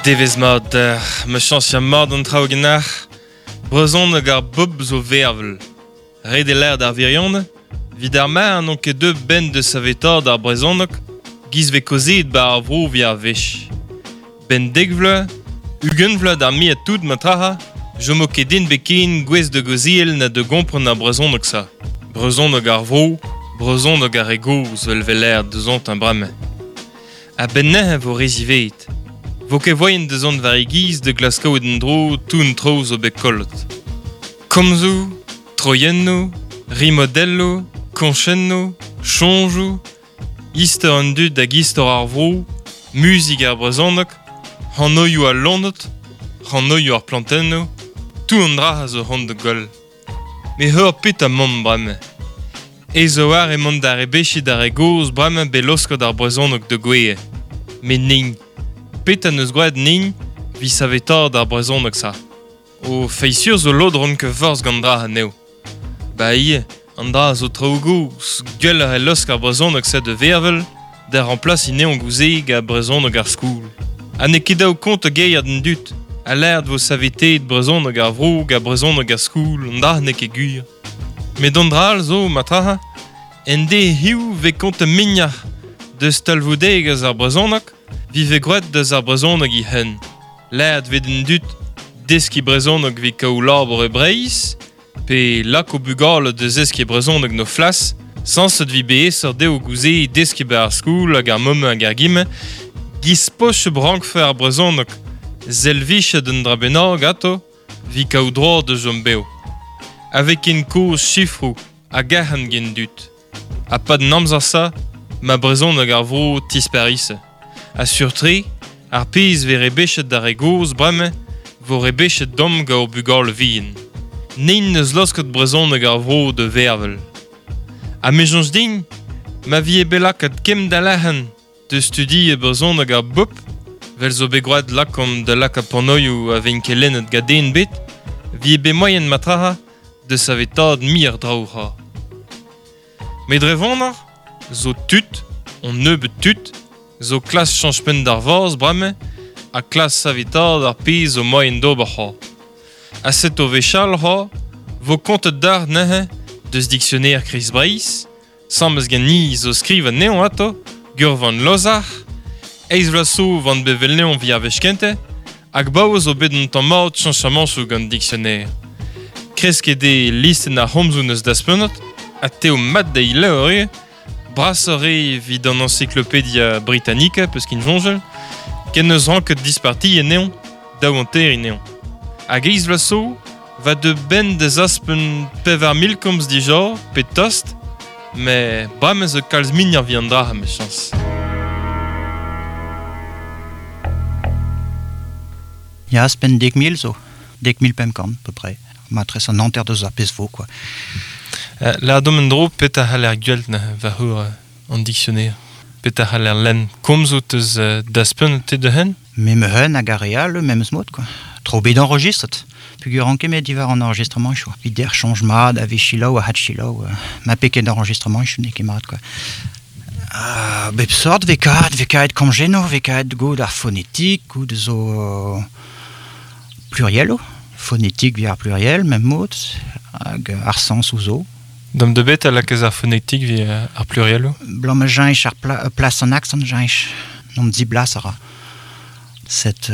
Devezh mat deoc'h, ma chañs ya mat an traoù ganeoc'h. Brezhoneg ar bobl zo vervel. Ret eo lâret ar wirionez, 'vit ar mar n'on ket deuet 'benn da savetaat ar brezhoneg 'giz 'vez kaozeet 'ba ar vro 'vit ar wech. 'Benn dek vloaz, 20 vloaz d'ar muiañ tout matraha, 'chomo ket den bet ken gouest da gaozeal na da gompren ar brezhoneg-se. Brezhoneg ar vro, brezhoneg ar re gozh 'vel 'vez lâret deusontañ bremañ. A-benn neuze 'vo re ziwezhat. 'Vo ket voaien da zont war e giz da glask kaout en-dro tout an traoù zo bet kollet. Komzoù, troiennoù, rimodelloù, koñchennoù, soñjoù, istor an dud hag istor ar vro, muzik ar brezhoneg, anvioù al loened, anvioù ar plantennoù, tout an dra a zo c'hoant da goll. Met ur petra 'maomp bremañ. Aes a-walc'h emaon da rebechiñ d'ar re gozh bremañ bet laosket ar brezhoneg da gouezhañ. Met nin. Petra 'neus graet nin 'vit savetaat ar brezhoneg-se? O feiz-sur zo lod 'ran ket forzh gant dra anezho. Ba ivez, an dra zo traoù gozh, gwelloc'h eo laosk ar brezhoneg-se da vervel, da remplasiñ anezhañ gouze gant brezhoneg ar skol. Ha n'eo ket dav kontañ geiat an dud, ha lâret 'vo saveteet brezhoneg ar vro gant brezhoneg ar skol, an dra n'eo ket gwir. Met an dra all zo, matraha, en deiz hiziv 'vez kontet muioc'h deus talvoudegezh ar brezhoneg 'vit 'vez graet deus ar brezhoneg e-hun. Lâret 'vez d'an dud deskiñ brezhoneg 'vit kaout labour e Breizh, pe lak o bugale da zeskiñ brezhoneg 'n o flas, sañset 'vit bet aesoc'h dezho gouze deskiñ 'ba ar skol hag ar mamm hag ar gime, 'giz posupl 'rankfe ar brezhoneg selvijet un dra bennak atav 'vit kaout droad da chom bev. Ha 'vez ken kozh sifroù hag arc'hant get dud. Ha 'pad an amzer-se, ma brezhoneg ar vro 'tisparise. Ha sur-tre, ar pezh 'vez rebechet d'ar re gozh bremañ 'vo rebechet deomp gant hor bugale vihan. Nin 'neus laosket brezhoneg ar vro da vervel. Ha me 'soñj din, ma vije bet lakaet kemm da lec'han da studiañ brezhoneg ar bobl, 'vel zo bet gwraet lakaomp da lakaat panoioù a vez kelennet gant den ebet, 'vije bet moaien matraha da savetaat muioc'h draoù c'hoazh. Met dre vonoc'h zo tud, un nebeud tud, zo klask chañch penn d'ar vazh bremañ ha klask savetaat ar pezh zo moaien d'ober c'hoazh. Ha setu wechall c'hoazh 'vo kontet deoc'h neuze deus diksioner Kreiz-Breizh, Sames ganin zo skriv anezhañ atav, Gurvan Lozac'h, eizh vloaz zo 'vant bet 'vel 'vit ar wech kentañ, hag 'baoe zo bet un tamm mat cheñchamañchoù gant dictionnaire. Kresket eo listenn ar c'homzoù 'neus daspenet, ha t'eo mat dezhi levr ivez, brasoc'h eo evit an Encyclopédia Britannica peus kin soñjal, ken 'neus ranket dispartiñ anezhañ, daouhanteriñ anezhañ. Hag eizh vloaz zo Va deu 'benn da zaspen 4000 komz dija, pe tost, met bremañ zo kalz muioc'h evit an dra 'mechañs. Ya, ouzhpenn 10,000 zo. 10,500 à peu près. Matresse an hanter deus ar pezh vo, quoi. Lâret en-dro petra c'haller gwel't neuze war c'hour an dictionnaire. Petra c'haller lenn komzoù 'teus daspenet te da-heul? Me 'm hag ar re all memes mod quoi. Tro bet enregistret. Peogwir ran ket met diwar an enregistramañchoù. Evit der soñj mat a vez selaou a had-selaou. Ma pe ket enregistramañchoù n'eo ket mat quoi. Ha bep sort 'vez kavet, 'vez kavet komjennoù, 'vez kavet goût ar fonetik, goût zo plurielloù. Fonetik 'vit ar pluriel, mem mod, hag ar sañsoù zo. Dam da bet a lakaez ar fonetik 'vit ar plurielloù? Blam ma cheñch ar pla plas an aksant cheñch. N'omp diblas a ra. Set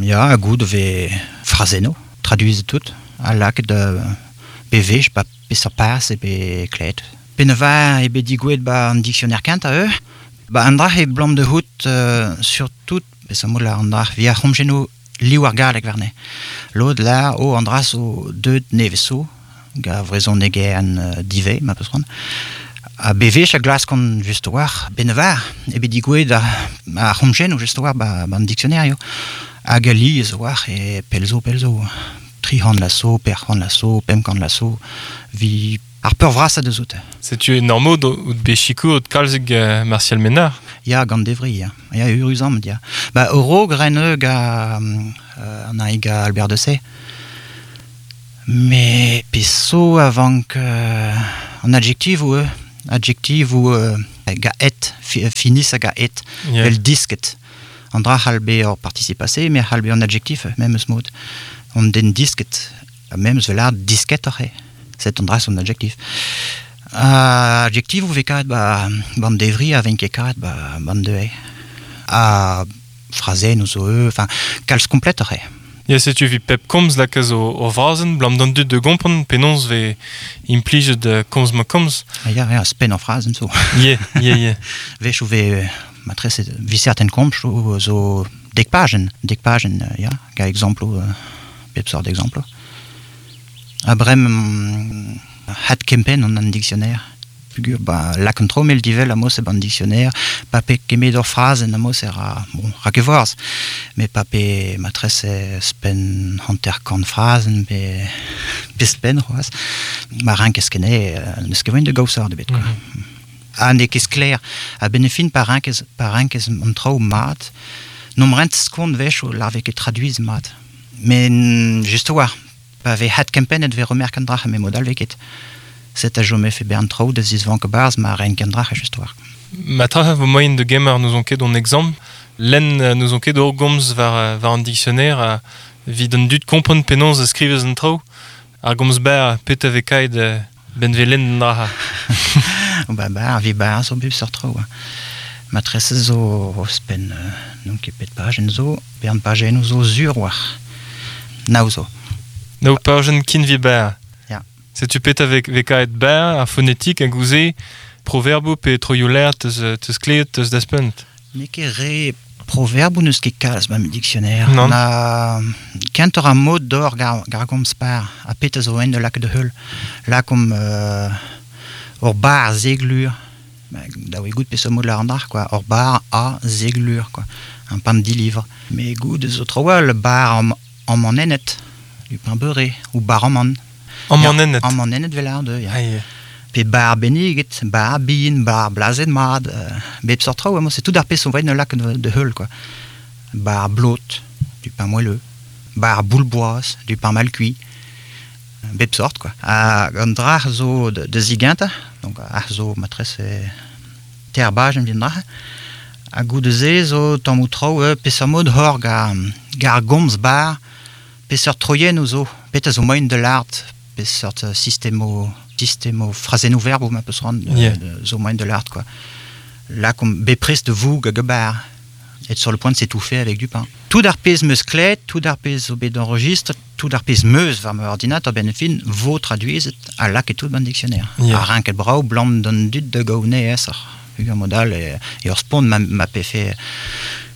ya, goût 'vez frazennoù, traduizet tout, ha lakaet bewech 'ba peseurt paz eo bet klevet. Penaos eo bet digouezhet 'ba an dictionnaire kentañ eu? Ba an dra eo 'blam da c'hoût surtout peseurt mod lâr an dra 'vit ar c'homjennoù liv ar galleg warne. Lod lâr oh an dra zo deuet nevez zo, gant vrezhonegerien divez ma peus c'hoant. Ha bewech a glaskont just a-walc'h benn-war eo bet digouezhet ar c'homjennoù just a-walc'h 'ba an dictionnaire eo. Hag alies a-walc'h e pell zo pell zo. 300 vloaz zo, 400 vloaz zo, 500 vloaz zo, 'vit ar peurvrasañ deus oute. Setu en ur mod out bet sikouret kalzik Martial Ménard. Ya, gant Devri, ya. Ya, eüruzamant, ya. Ba, a-raok ren ga an ga Albert de Sey. Met pezh zo a vank an adjektivoù eo. Adjektivoù ga et, finis hag a et, vel disket. An dra c'hall be ur participe passé, me c'hall be an adjectif, memes mod. On den disket, ha memes vel ar disketoc'h eo. Set an dra son adjectif. Adjectif ou vez karet ba ban devri a ven ket karet ba ban de Ha frazennoù zo eu, enfin, kalz kompletoc'h eo. Ya, setu evit pep komz lakaas o frazenn, blam d'an dud da gompren penaos vez implijet komz-mañ-komz. Ah, ya, ya, spenn ar frazenn zo. Yeah, yeah, yeah. Wech o vez matrese vi certain komz zo dek pajenn, dek pajenn, ya, ga exemploù, bep sort exemploù. Ha bremañ adkempenn an dictionnaire. Pugur, ba, lak an traoù mel divel amos e ban dictionnaire, pa pe kemet ur frazenn amos e ra, bon, ra ket forzh, met pa pe matrese spenn 50 frazenn pe, pe spenn c'hoazh, ma rankez ket n'eus ket moaien da gaout sort ebet, quoi. Ha n'eo ket sklaer. A-benn ar fin, pa rankez, pa rankez an traoù mat, n'omp rent skont wech o lar vez ket traduiz mat. Met just a-walc'h, Pa vez adkempennet vez remerk an dra-se, met mod all vez ket. Set a chomefe bern traoù da zisvank a-barzh ma renk an dra-se just war. Ma tra vo moaien da gemer n'ouzon ket hon exempl, lenn n'ouzon ket ur gomz war, war an dictionnaire ha evit an dud kompren penaos a skrivez an traoù. Ar gomz berr, petra vez kaet benn vez lenn an dra-se? Ba ba, vi bar zo bep seurt traoù. Matrese zo ouzhpenn n'on ket pet pajenn zo, bern pajennoù zo sur war. Nav zo. Nav pajenn kinvi berr. Ya. Setu petra vez, vez kaet berr, ar fonetik hag ouzh proverboù pe troioù-lêr teus, teus klevet, teus daspunt? N'eo ket re proverboù n'eus ket kalz ma dictionnaire. Non. Na kentoc'h ar mod d'or gar, gar gomz par ha petra zo en da lakaat da heul. Lakaomp ur bar zeglur. Da oe goût peseurt mod lâr an dra quoi. Ur bar a zeglur quoi. Un pain dilivre. Mais goût zo traoù all, bar am Amanennet, du pain beurré, ou bar amann. Amanennet. Amanennet vel ar deu, ya. Pe bar benniget, bar bihan, bar blazet mat, bep seurt traoù, amañ c'est tout ar pezh zo vaet lakaat da heul, quoi. Bar blot, du pain moelleux, bar boule-boaz, du pain mal cuit, bep sort, quoi. Hag an dra zo da zigentañ, donc ar zo matrese ter bajenn evit an dra. Ha goude-se zo tammoù traoù peseurt mod hor gar gomz bar, peseurt troiennoù zo, petra zo moaien da lâret, peseurt sistemoù sistemoù frazennoù verboù ma peus c'hoant zo moaien da lâret quoi. Lakaomp bepred da voug hag a bar. Être sur le point de s'étouffer avec du pain. Tout ar pezh 'meus klevet, tout ar pezh zo bet enregistret, tout ar pezh 'meus war ma ordinateur benn ar fin vo traduizet ha lakaet tout ban dictionnaire. Yeah. Ha renket brav 'blam d'an dud da gaout aesoc'h. Ur mod all e, e ur spont ma, ma pefe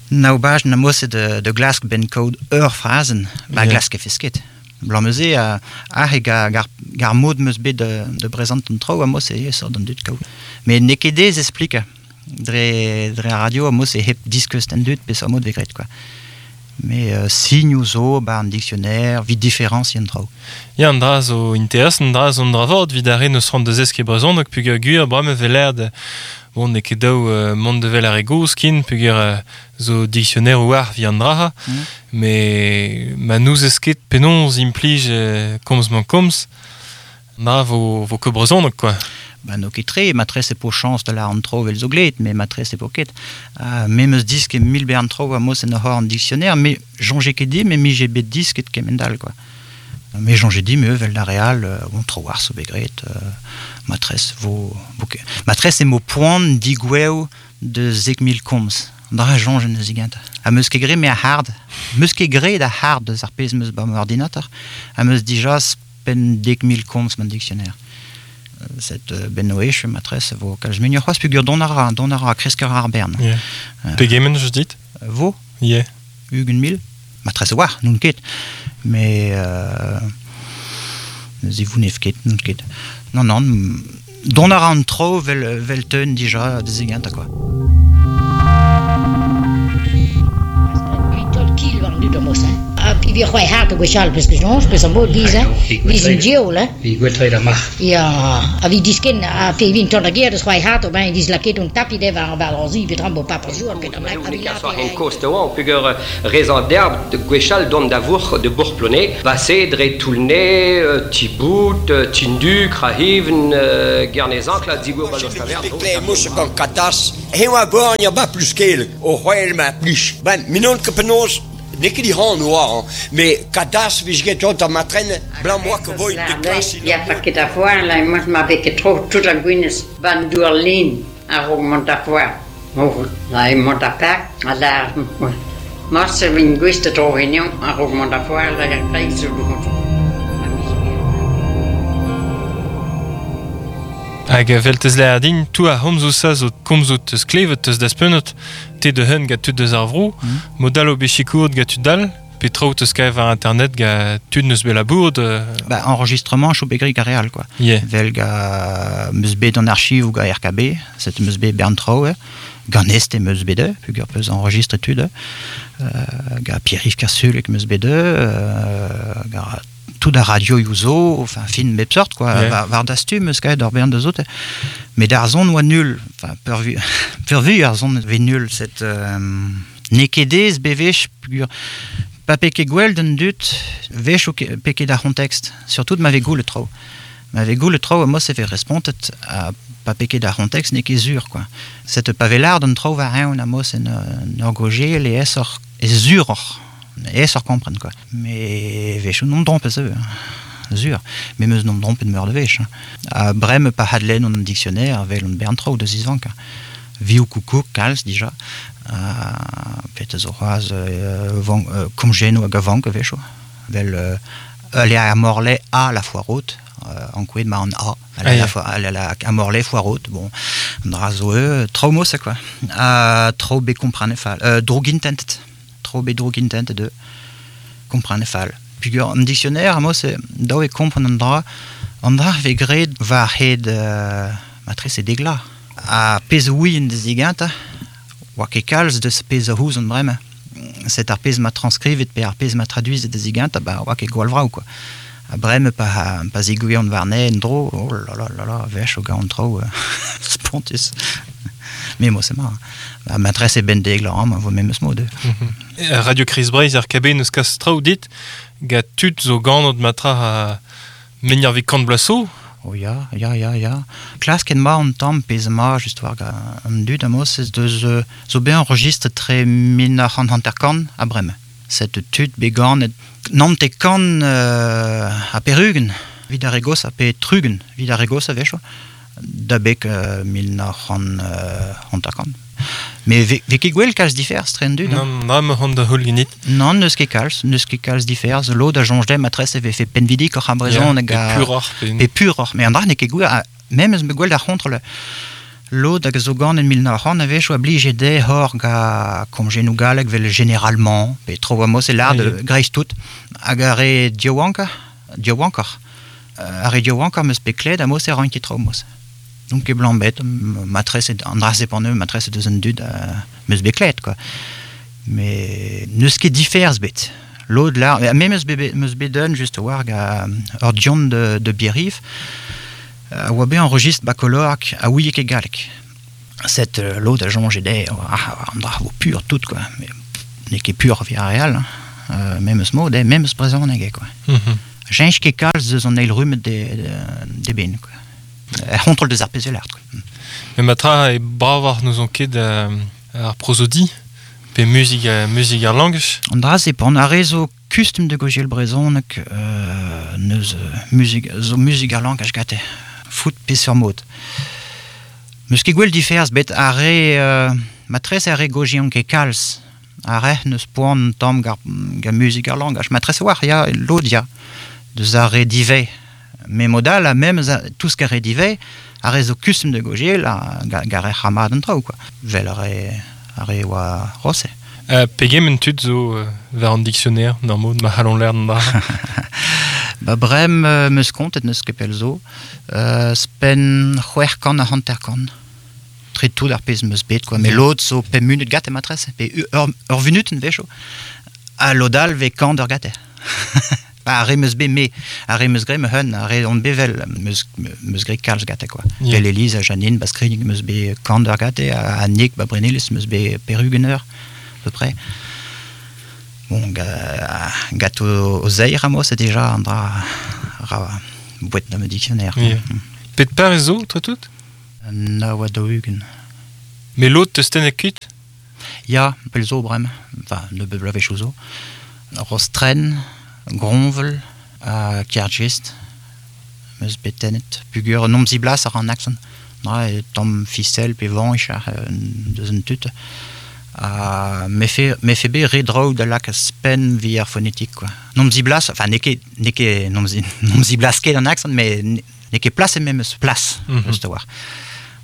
nav bajenn am-eus da, da glask benn kaout ur frazenn, ma Yeah. glask e fes ket. Blam neuze ac'h e gar, gar, gar mod 'meus bet da, da brezant an traoù am-eus e aesoc'h d'an dud kaout. Met n'eo ket aes explikañ. Dre, dre ar radio am-eus e hep diskeuz d'an dud peseurt mod vez graet quoi. Mais signoù zo 'ba an dictionnaire 'vit diferañsiñ an traoù. Ya, an dra zo interesant, an dra zo an dra vat evit ar re n'eus c'hoant da zeskiñ brezhoneg peogwir bremañ e vez lâret bon n'eo ket dav mont da wel ar re gozh ken peogwir zo dictionnaire war evit an dra-se. Mais ma n'ouzez ket penaos implij komz-mañ-komz, na vo, vo ket brezhoneg quoi. Ba n'eo ket tre, matrese po chañs da lâret an traoù evel zo gleet, met matrese po ket. Ha me 'meus disket mil bern traoù a-mos en ur c'horn dictionnaire, me soñje ket din, met 'mije bet disket kement-all quoi. Me soñje din me evel d'ar re all, bon tro-walc'h zo bet graet, matrese vo, vo ket. Matrese emo poan digouev da 10,000 komz. An dra a soñjen neuze gentañ. Ha 'meus ket graet me ar c'hard. 'Meus ket graet ar c'hard deus ar pezh 'meus 'ba ma ordinateur. Ha 'meus dija penn 10,000 komz ma dictionnaire. Set benn o echu matrese vo kalz muioc'h c'hoazh peogwir dont a ra, dont a ra, kresk a ra ar bern. Yeah. Pegement eus dit? Vo? Yeah. 20,000 Matrese war, n'on ket. Mais ne zivounev ket, n'on ket. Non, non, dont a ra an traoù vel, vel teun dija da zigentañ quoi. Tolkien war an dud amañ, hein. Ha vi c'hoai hart gwechall peus ket soñj, peus an bod giz, hein. Viz un diaoul, hein. Vi gwetret ar marc'h. Ya, a vi disken, a fe vin tont a ger deus c'hoai hart, ben diz laket un tapi de war war zi, petram bo papa jour, petram a vi laket. En kost oan, pugur rezan d'herb de gwechall dont da vourc'h de Bourg-Plonnet, basse dre Toulnay, Tibout, Tindu, Krahiven, Guernézan, la digour balostaver. Mousse gant katas, he oa born ya ba plus kel, o c'hoel ma plich. Ben, minon ket penaos, n'eo ket han oa, mais katas vez get ont ar matren, blanc moa ke void de klas. Ya fa ket a foar, la mos ma bet ket tro tout a gwinez ban douar lin a rog mont a foar. Oh, la mont a pak, a la Morse vin gwist a tro henion a rog mont a foar, la kreiz zo du. Hag veltez le ardin, tou a homzou sa zo komzout eus klevet eus daspeunot, te de hun ga tud deus ar vro, modal o bechikourt ga tud dal, pe traout eus kaev ar internet ga tud neus bet labour de... Ba, enregistrement chou begri ga real, quoi. Yeah. Vel ga meus bet an archiv ou ga RKB, set meus bet bern trao, gant este meus bet de, pugur peus enregistre tud, ga Pierre-Yves Kersulek meus bet de, ga tout a radio youzo, enfin fin bep sort quoi, yeah. War dastu meus kaet ur bern deus out, met ar zon oa nul, enfin peurvu, peurvu ar zon ve nul, set n'eo ket ez bevech pugur pa peke gwell d'un dut vech o peke d'ar c'hontext, surtout ma ve goul le trao. Ma ve goul le trao, mos e ve respontet a pa peke d'ar c'hontext n'eo ket zur quoi. Set pa ve lard un trao war eun a mos en ur goje le es ur e zur oc'h. Es ur kompren quoi. Mais vech non trompe se zur. Mais meus non trompe de meur de vech. A brem pa hadlen on dictionnaire vel on bern trao de zizvank. Viou koukou kalz dija. Pet zo c'hoaz komjeno hag avank vecho. Vel aller a morle a la foiroute en kouet ma an a. Aller la a morle foiroute. Bon, an dra zo trao mos quoi. A trao be komprane fall. Droug intentet. Tro bet droug intent de komprane fall. Pugur an dictionnaire a mos daou e kompren an dra ve gred war hed matres e degla. A pez ouien de ziganta, oa ket kalz deus pez a houz an bremañ. Set ar pez ma transkrivet pe ar pez ma traduizet de ziganta, ba oa ket gwall vrao quoi. A bremañ pa zigouian warne en dro, oh la la la la, vech o gaon tro, spontus. Mais moi c'est marrant. Ba matres e ben degla am, vo memes mod. Radio Chris Breiz ar KB neus kas traoù dit, ga tud zo gant matra a menir vi kant blaso. Oh ya, ya, ya, ya. Klask en ma an tamm pez ma just war ga an dud a mos ez deus zo bet enregistre tre 1950 a bremañ. Set tud bet ganet nante kan a perugen, vid ar regos a pe trugen, vid ar regos a vecho, da bek 1950. Mais ve ket gwell kalz diferz tre an dud. Non, na me hon da houl genit. Non, neus ket kalz diferz. Lod a jonj dem matres e vefe penvidik oc'h ar brezhon hag a... Pe puroc'h. Pe puroc'h. Mais an dra n'eo ket gwell, mem eus me gwell d'ar c'hontrol. Lod hag zo gant en 1900 a vech oa blije de hor ga komjenou galleg vel généralement, pe tro a mos e lard greiz tout. Hag ar re diouanka, diouankoc'h. Ar re diouankoc'h meus pe kled a mos e ran ket tro mos. Donc e blanc bet, matres an dra se matres deus an dud meus bet kled quoi. Mais neus ket diferz bet. Lod la, me meus bet den just war ga ur dion de Bierif, a oa bet enregistre bakolork a ouie ket galleg. Set lod a jonge de, an dra vo pur tout quoi. Mais n'eo ket pur via real, hein. Memes mod, memes brezhoneg quoi. Jench ket kalz deus an eil rumet de ben quoi. Er c'hontrol deus ar pezh quoi. Mais matra e bravar nous on ket ar prosodi pe muzik ar langaj. An dra se pan ar re zo kustum de gojel brezhoneg neus muzik zo muzik ar langaj gate. Foot pe sur mod. Meus ket gwell diferz bet ar re matres ar re gojion ket kalz. Ar re neus poan tamm ga muzik ar langaj. Matres war ya lod ya deus ar re divez. Mais modal a même tout ce qu'a re divez ar re zo kustum de gojel a ga re c'hamad an traoù quoi. Vel ar re oa rose. Pegement tud zo war an dictionnaire d'ar mod ma c'hallon l'air d'an dra. Ba brem meus kontet neus ket pell zo, spen c'hwec'h kant a hanter kant. Tre tout ar pezh meus bet quoi. Mais lod zo pemp munut gat e matres, pe ur vunuten vecho. A lodal ve kant ur gate. Ba, ar re meus bet me, ar re meus gre me hun, ar re on bevel meus gre kalz gate, quoi. Yeah. Vel Elise ha Janine, ba Skrign meus bet kant ur gate, ha Nick ba Brenelis meus bet perugeneur, à peu près. Bon, gato o zeir amo, c'est déjà an dra ra boet na me dictionnaire. Yeah. Pet par e zo, tre tout? Na oa da ugen. Me lot teus tennet kuit? Ya, pel zo brem, enfin, ne be blavech zo. Rostren, Gronvel, ha Kergist, meus bet tennet. Pugur nom ziblas ar an aksan. Dra e tamm fisel pe vanch ar deus un tut. Ha me fe be re draoù da lak spen vi ar fonetik, quoi. Nom ziblas, enfin, n'eo ket nom ziblas ket an aksan, mais n'eo ket plas e memes plas, eus da war.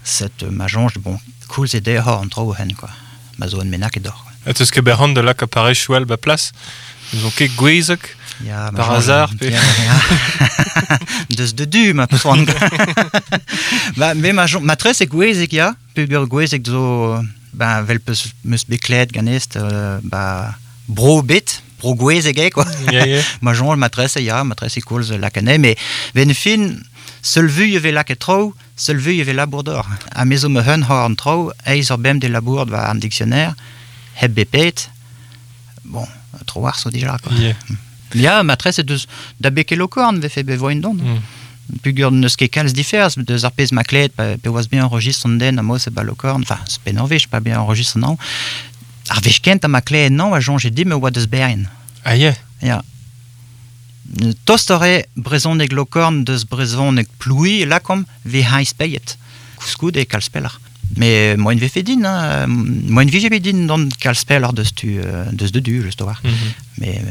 Set ma jonj, bon, koulz e dezho an traoù hen, quoi. Ma zo en menak e dor, quoi. Ha teus ket berc'han da lak aparej choual ba plas? N'eus on ket gwezek? Ya, ma Par jonj, hasard, pe... Ya, ya. Deus de du, ma peus oan. Ba, me ma jonj, ma tres e gwezek, ya, peogwir gwezek zo, ba, vel peus meus bet kleet ganest, ba, bro bet, bro gwezek eo, quoi. Ya, ya. Ma jonj, ma tres e, ya, ma tres e koulz lakane, mais ben fin, seul vu e ve lak e traoù, seul vu e ve labour d'or. Ha me zo me hun hor an traoù, eiz ur bem de labour va an dictionnaire, heb bepet, bon, tro war zo dija, quoi. Yeah. Ya, ma tres e deus da beke lokorn vefe be voin don. Pugur n'eus ket kalz diferz, deus ar pezh ma kleet, pe oas bien enregistre an den, a-moz e ba lokorn, enfin, c'est pe norvej, pas bien enregistre an. Ar vech kent a ma kleet nan, a jonge dim e oa deus berien. Ah, yeah. Ya. Tost ore brezhoneg lokorn deus brezhoneg ploui lakom ve haiz peiet. Kouskoud e kalz peller. Mais moen vefe din, hein, moen vije bet din don kalz peller deus tu, deus de du, just war. Mais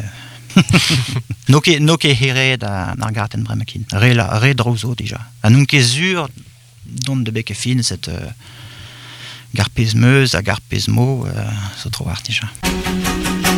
no ket here da ar garten bremakin. Re draoù zo dija. Ha n'on ket sur dont de beke fin cette gar pezh meus ha gar pezh mo zo tro war dija.